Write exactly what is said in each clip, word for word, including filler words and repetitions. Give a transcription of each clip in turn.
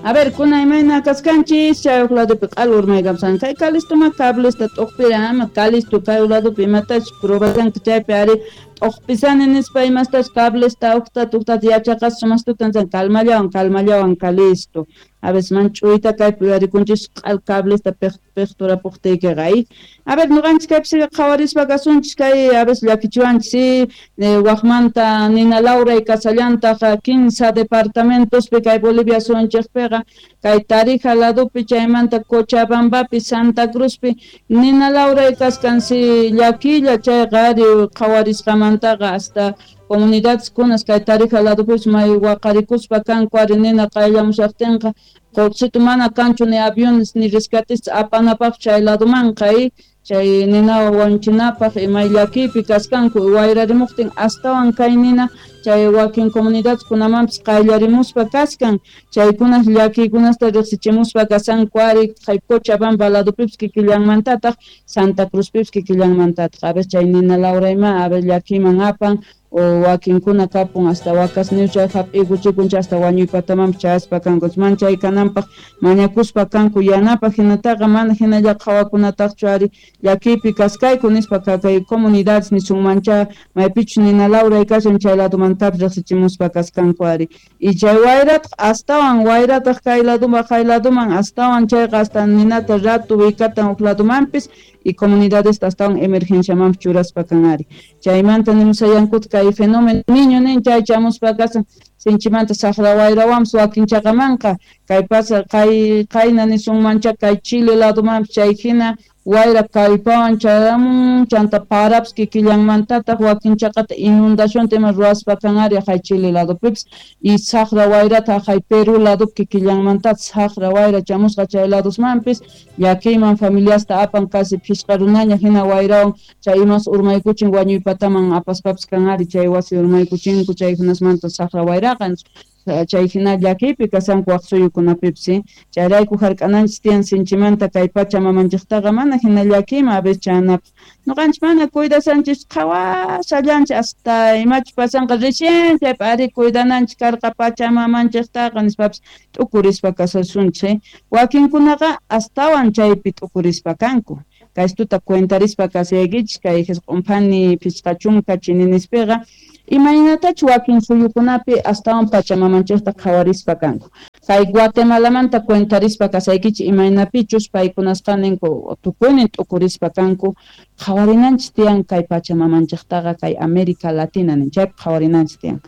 A ver, kuna imayna kaskanchis chay huk ladopi q'alu urmaykamsan kay Calistoma cablesta t'uqpira ama Calisto kay ladopi imatachus probasanki chaypi ari t'uqpisani nispa imastachus cablesta uqtata uqtata yachaqasqa mastutan calmallawan calmallawan Calisto. A veces man ch'uyta kaypi uyarikunchis q'al cablesta piqturapuqtiykiqa ay. A ver, ñuqanchis kaypi qhawarispa kasunchis kay a veces llakichiwanchis waqmanta nina lawray kasallantaq quince departamentospi kay Bolivia suyunchikpiqa kay Tarija ladopi chaymanta Cochabambapi Santa Cruzpi nina lawray kaskansi llakilla chayqa ari qhawarisqamantaqa hasta comunidades kunas kay Tarija ladopis may waqarikuspa kanku ari nina qayllamushaqtinqa qullqisitu mana kanchu ni aviones ni rescatistas apanapaq chay ladomanqa chay nina wanchinapaq imay llakiypi kaskanku wayrarimuqtin astawan kay nina chay wakin comunidades kunamanpis qayllarimuspa kaskan chaykunas llakiykunasta riqsichimuspa kasanku ari kay Cochabamba ladopipis kikillanmantataq Santa Cruzpipis kikillanmantataq a veces chay nina lawrayma a veces llakiyman apan o wakinkuna kapun hasta wakasniw chay hap'ikuchikun hasta wañuypatamanpis chayaspa kanku manchay kananpaq mañakuspa kanku yanapaq hinataqa mana hinalla qhawakunataqchu ari llakiypi kaskayku nispa kay comunidades nisunmancha maypichus nina lawray kashan chay ladomantapis riqsichimuspa kaskanku ari y chay wayrataq astawan wayrataq kay ladoman kay ladoman astawan chayqa hasta ninata ratu wikatan huk ladomanpis y comunidades astawan emergenciamanpis churaspa kan ari chaymanta nimusayankuta kay fenómeno niño nin chay chamuspa kasan sinchimanta saqra wayrawanpis wakin chaqamanqa kay pasa kay qayna nisunmancha kay Chile ladomanpis chay hina wayra kallpawan chayramun chanta parapis kikillanmantataq wakin chaqata inundacionta ima ruwaspa kan ari hay Chile ladopipis y saqra wayrata hay Perú ladopi kikillanmantataq saqra wayra chamusqa chay ladosmanpis llakiyman familiasta apan casi phisqa runaña hina wayrawan chay imas urmaykuchin wañuypataman apaspapis kan ari chay wasi urmaykuchinku chay hinasmanta saqra wayraqa chay hina llakiypi kasanku waq suyukunapipis chayrayku hark'ananchis tiyan sinchimanta kay pacha mamanchiktaqa mana hina llakiyman a veces chanapaq ñuqanchis mana cuidasanchis qhawasallanchis hasta imachus pasanqa recién chaypi ari cuidananchis karqa pacha mamanchiktaqa nispapis t'ukurispa kasasunchis wakinkunaqa astawan chaypi t'ukurispa kanku kaystuta cuentarispa kasaykichis kay q'umphani phisqa chunka chininispiqa imaynatachu wakin suyukunapi astawan pachamamanchikta qhawarispa kanku kay Guatemalamanta cuentarispa kasaykichis imaynapichus paykunasqa ninku tukuynin t'ukurispa kanku qhawarinanchis tiyan kay pachamamanchiktaqa kay América Latina nin chaypi qhawarinanchis tiyan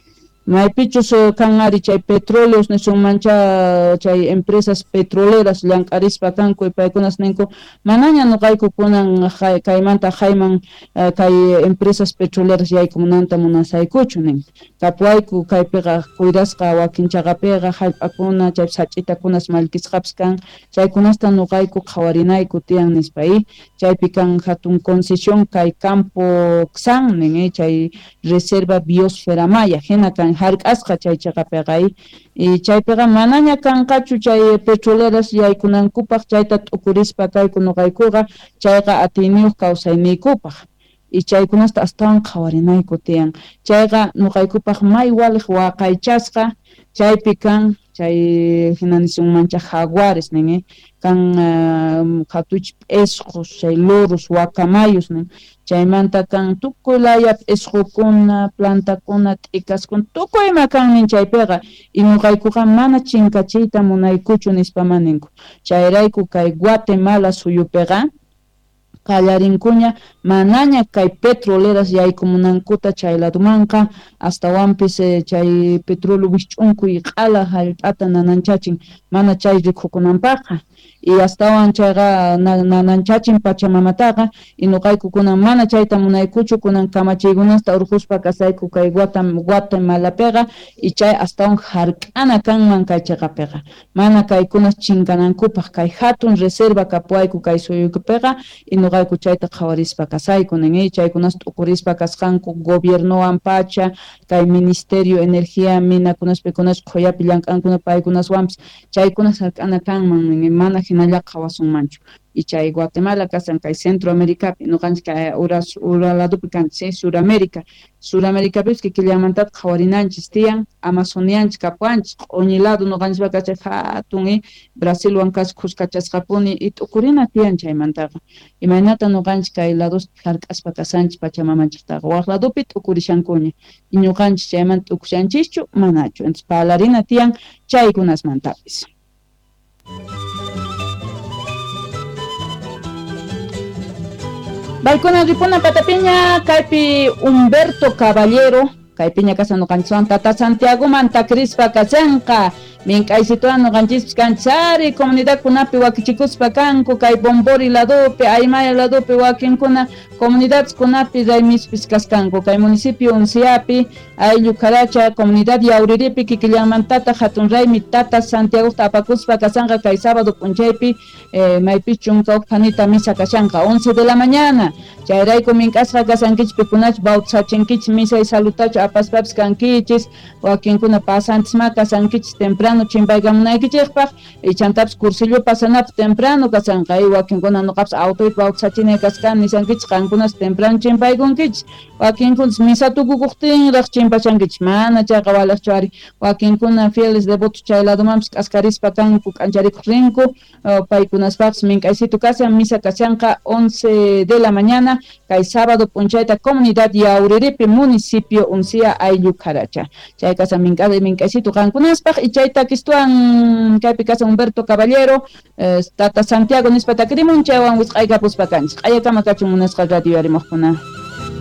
maypichus kan ari chay petróleos nisunmancha chay empresas petroleras llank'arispa kanku y paykunas ninku manaña ñuqayku kunan kaymanta hayman kay empresas petroleras yaykumunanta munasaykuchu nin kapuwayku kaypiqa cuidasqa wakin chaqapiqa hallp'akuna chay sach'itakunas mallkisqapis kan chaykunasta ñuqayku qhawarinayku tiyan nispa y chaypi kan hatun concesión kay Campo Xan nin chay reserva biosfera maya hina kan hark'asqa chay chaqapiqa y chaypiqa manaña kanqachu chay petroleras yaykunankupaq chayta t'ukurispa kayku ñuqaykuqa chayqa atiyniyuq kawsayniykupaq y chaykunasta astawan qhawarinayku tiyan chayqa ñuqaykupaq may waliq waqaychasqa chaypi kan chay hina nisunmancha jaguares nin kan hatuch p'isqus chay loros guacamayos nin chaymanta kan tukuy laya p'isqukuna plantakuna t'ikaskuna tukuy ima kan nin chaypiqa y ñuqaykuqa mana chinkachiyta munaykuchu nispaman ninku chayrayku kay Guatemala suyupiqa qallarinkuña manaña kay petroleras yaykumunankuta chay ladomanqa astawanpis chay petróleo wisch'unkuy q'ala hallp'ata nananchachin mana chay rikukunanpaqqa y astawan chayqa nananchachin pachamamataqa y ñuqayku kunan mana chayta munaykuchu kunan kamachiykunasta urquspa kasayku kay Guatemalapiqa y chay astawan hark'ana kanman kay chaqapiqa mana kaykunas chinkanankupaq kay hatun reserva kapuwayku kay suyupiqa y ñuqayku chayta qhawarispa kasayku nin chaykunas t'ukurispa kasqanku gobiernowan pacha kay ministerio energía minakunas pikunas qhuyapi llank'ankuna paykunaswanpis chaykunas hark'ana kanman nin mana hinallaqa qhawasunmanchu. Y chay Guatemala kasan kay Centroamericapi, ñuqanchik kay ura ura ladopi kanchik, Suramérica. Suramericapis kikillanmantataq qhawarinanchis tiyan, Amazonianchik kapuwanchik, q'uñi lado ñuqanchikpa kachay hatun Brasilwan kasqa khuskachasqapuni y t'ukurina tiyan chaymantaqa. Imaynata ñuqanchik kay ladospi hark'aspa kasanchik pachamamanchiktaqa, waq ladopi t'ukurishankuña. Y ñuqanchik chaymanta t'ukushanchischu manachu. Entonces parlarina tiyan chaykunasmantapis. Baykuna ripuna patapiña kaypi Humberto Caballero kaypiña kasan ñuqanchiswan Tata Santiagomanta Crispa kasanqa mink'aysituwan ñuqanchispis kanchari comunidadkunapi wakichikuspa kanku kay Bombori ladopi Aymaya ladopi wakinkuna comunidadkunapi raymispis kaskanku kay municipio Unciapi ayllu Caracha comunidad Yauriripi kikillanmantata hatun raymi Tata Santiago apakuspa kasanqa kay sábado p'unchaypi eh, maypis chunka huk phanita misa kashanqa once de la mañana chayrayku mink'asqa kasankichik pikunach bautzachinkichik misa y salutachu apaspapis kankichis wakinkuna pasantisma kasankichis temprano chimpaykamunaykichikpaq y chantapis cursillo pasanapaq temprano kasanqa y wakinkuna nuqapis autoypi bautzachinay kaskan nisankichik qankunas temprano chimpaykunkichik wakinkunas misa tukukuqtinraq chimpachankichik mana chayqa walaqchu ari wakinkuna fieles devotos chay ladomanpis k'askarispa kanku k'ancharikuq rinku paykunaspaqpis mink'aysitu kasan misa kashanqa once de la mañana kay sábado p'unchayta comunidad Yauriripi municipio Uncia ayllu Caracha chay kasan mink'ay mink'aysitu qankunaspaq y chay takistuan kaypi kasan Humberto Caballero eh, Tata Santiago nispa takirimun chaywan wisq'aykapuspa kanchik q'ayakama kachun munasqa radio yarimuqkuna.